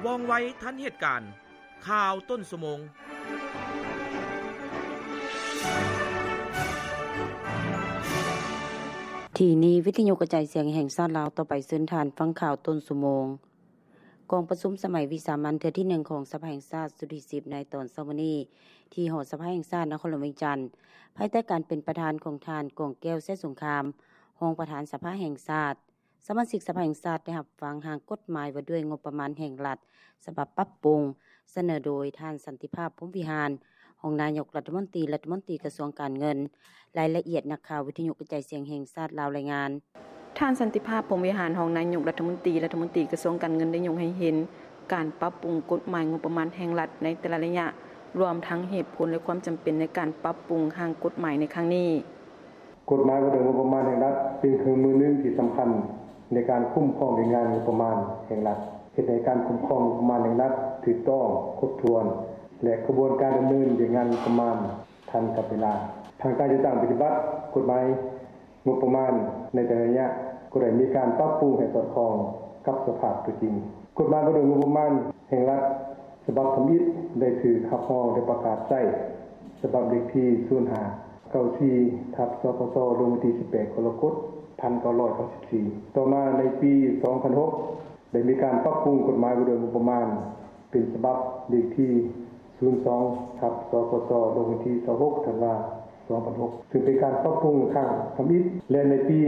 ວ່ອງໄວທັນເຫດການ. ຂ່າວຕົ້ນຊົ່ວໂມງ. ທີ່ນີ້ ວິທະຍຸກະຈາຍສຽງແຫ່ງຊາດລາວ, ຕໍ່ໄປເຊີນທ່ານຟັງຂ່າວຕົ້ນຊົ່ວໂມງ. ກອງປະຊຸມສະໄໝວິສາມັນເທື່ອທີໜຶ່ງຂອງສະພາແຫ່ງຊາດຊຸດທີສິບ ໃນຕອນເຊົ້າມື້ນີ້ ທີ່ຫໍສະພາແຫ່ງຊາດນະຄອນຫຼວງວຽງຈັນ, ພາຍໃຕ້ການເປັນປະທານຂອງທ່ານ ກອງແກ້ວ ໄຊສົງຄາມ ຮອງປະທານສະພາແຫ່ງຊາດ. ສະມາຊິກສະພາແຫ່ງຊາດໄດ້ຮັບຟັງຮ່າງກົດໝາຍວ່າດ້ວຍງົບປະມານແຫ່ງລັດ ສະບັບປັບປຸງ ສະເໜີໂດຍທ່ານ ສັນຕິພາບ ພົມວິຫານ ຮອງນາຍົກລັດຖະມົນຕີ ລັດຖະມົນຕີກະຊວງການເງິນ. ລາຍລະອຽດ ນັກຂ່າວວິທະຍຸກະຈາຍສຽງແຫ່ງຊາດລາວລາຍງານ. ທ່ານ ສັນຕິພາບ ພົມວິຫານ ຮອງນາຍົກລັດຖະມົນຕີ ລັດຖະມົນຕີກະຊວງການເງິນ ໄດ້ຍົກໃຫ້ເຫັນການປັບປຸງກົດໝາຍງົບປະມານແຫ່ງລັດໃນແຕ່ລະໄລຍະ, ລວມທັງເຫດຜົນ ແລະ ຄວາມຈຳເປັນໃນການປັບປຸງຮ່າງກົດໝາຍໃນຄັ້ງນີ້. ກົດໝາຍວ່າດ້ວຍງົບປະມານແຫ່ງລັດ ເປັນເຄື່ອງມືໜຶ່ງທີ່ສຳຄັນໃນການຄຸ້ມຄອງວຽກງານງົບປະມານແຫ່ງລັດ, ເຮັດໃຫ້ການຄຸ້ມຄອງງົບປະມານແຫ່ງລັດຖືກຕ້ອງ, ຄົບຖ້ວນ ແລະ ຂະບວນການດຳເນີນວຽກງານງົບປະມານທັນກັບເວລາ. ທາງການຈັດຕັ້ງປະຕິບັດກົດໝາຍງົບປະມານໃນແຕ່ລະໄລຍະ ກໍໄດ້ມີການປັບປຸງໃຫ້ສອດຄ່ອງກັບສະພາບຕົວຈິງ. ກົດໝາຍວ່າດ້ວຍງົບປະມານແຫ່ງລັດ ສະບັບທຳອິດໄດ້ຖືກຮັບຮອງ ແລະ ປະກາດໃຊ້ ສະບັບເລກທີ ສູນຫ້າ ເກົ້າສີ່ ທັບ ສພຊ ລົງວັນທີ ສິບແປດ ກໍລະກົດ ພັນເກົ້າຮ້ອຍເກົ້າສິບສີ່. ຕໍ່ມາໃນປີ ສອງພັນຫົກ ໄດ້ມີການປັບປຸງກົດໝາຍວ່າດ້ວຍງົບປະມານ ເປັນສະບັບເລກທີ ສູນສອງ ທັບ ສພຊ ລົງວັນທີ ຊາວຫົກ ທັນວາ ສອງພັນຫົກ ຊຶ່ງເປັນການປັບປຸງຄັ້ງທຳອິດ ແລະ ໃນປີ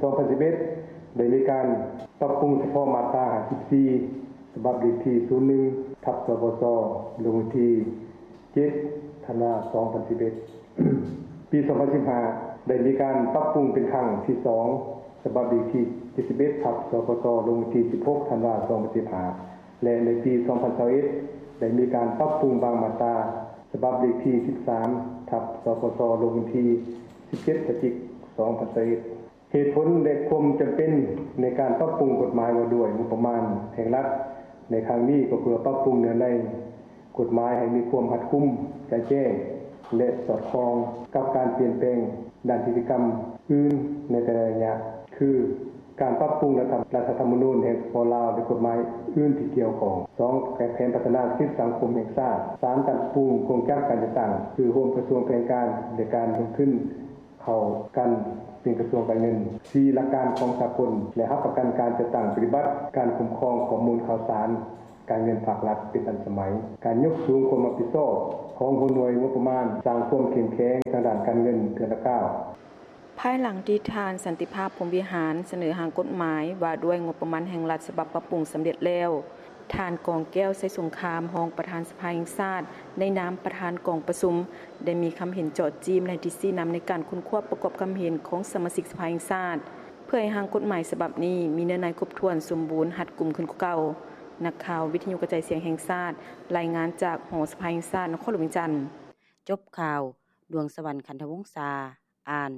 ສອງພັນສິບເອັດ ໄດ້ມີການປັບປຸງສະເພາະມາດຕາ ຫ້າສິບສີ່ ສະບັບເລກທີ ສູນໜຶ່ງ ທັບ ສພຊ ລົງວັນທີ ເຈັດ ທັນວາ ສອງພັນສິບເອັດ. ປີ ສອງພັນສິບຫ້າ ໄດ້ມີການປັບປຸງເປັນຄັ້ງທີສອງ ສະບັບເລກທີ ເຈັດສິບເອັດ ທັບ ສພຊ ລົງວັນທີ ສິບຫົກ ທັນວາ ສອງພັນສິບຫ້າ ແລະ ໃນປີ ສອງພັນຊາວເອັດ ໄດ້ມີການປັບປຸງບາງມາດຕາ ສະບັບເລກທີ ສິບສາມ ທັບ ສພຊ ລົງວັນທີ ສິບເຈັດ ພະຈິກ ສອງພັນຊາວເອັດ. ເຫດຜົນ ແລະ ຄວາມຈຳເປັນໃນການປັບປຸງກົດໝາຍວ່າດ້ວຍງົບປະມານແຫ່ງລັດໃນຄັ້ງນີ້ ກໍເພື່ອປັບປຸງເນື້ອໃນກົດໝາຍໃຫ້ມີຄວາມຮັດກຸມ, ຈະແຈ້ງ ແລະ ສອດຄ່ອງກັບການປ່ຽນແປງດ້ານນິຕິກຳອື່ນໃນແຕ່ລະໄລຍະ ຄື ການປັບປຸງລັດຖະ ລັດຖະທຳມະນູນແຫ່ງ ສປປ ລາວ ແລະ ກົດໝາຍອື່ນທີ່ກ່ຽວຂ້ອງ. ສອງ ແຜນພັດທະນາເສດຖະກິດສັງຄົມແຫ່ງຊາດ. ສາມ ການປັບປຸງໂຄງຈັກການຈັດຕັ້ງ ຄື ໂຮມກະຊວງແຜນການ ແລະ ການລົງທຶນ ເຂົ້າກັນເປັນກະຊວງການເງິນ. ສີ່ ຫຼັກການຂອງສາກົນ ແລະ ຮັບປະກັນການຈັດຕັ້ງປະຕິບັດການຄຸ້ມຄອງຂໍ້ມູນຂ່າວສານການເງິນພາກລັດເປັນທັນສະໄໝ. ການຍົກສູງຄວາມຮັບຜິດຊອບຂອງຫົວໜ່ວຍງົບປະມານ ສ້າງຄວາມເຂັ້ມແຂງທາງດ້ານການເງິນເທື່ອລະກ້າວ. ພາຍຫຼັງທີ່ທ່ານ ສັນຕິພາບ ພົມວິຫານ ສະເໜີຮ່າງກົດໝາຍວ່າດ້ວຍງົບປະມານແຫ່ງລັດສະບັບປັບປຸງສຳເລັດແລ້ວ, ທ່ານ ກອງແກ້ວ ໄຊສົງຄາມ ຮອງປະທານສະພາແຫ່ງຊາດ ໃນນາມປະທານກອງປະຊຸມ ໄດ້ມີຄຳເຫັນເຈາະຈີ້ມ ແລະ ທິດຊີ້ນຳໃນການຄົ້ນຄວ້າປະກອບຄຳເຫັນຂອງສະມາຊິກສະພາແຫ່ງຊາດ ເພື່ອໃຫ້ຮ່າງກົດໝາຍສະບັບນີ້ມີເນື້ອໃນຄົບຖ້ວນ, ສົມບູນ, ຮັດກຸມຂຶ້ນກວ່າເກົ່າ. ນັກຂ່າວວິທະຍຸກະຈາຍສຽງແຫ່ງຊາດ ລາຍງານຈາກຫໍສະພາແຫ່ງຊາດ ນະຄອນຫຼວງວຽງຈັນ. ຈົບຂ່າວ. ດວງສະຫວັນ ຂັນທະວົງສາ ອ່ານ.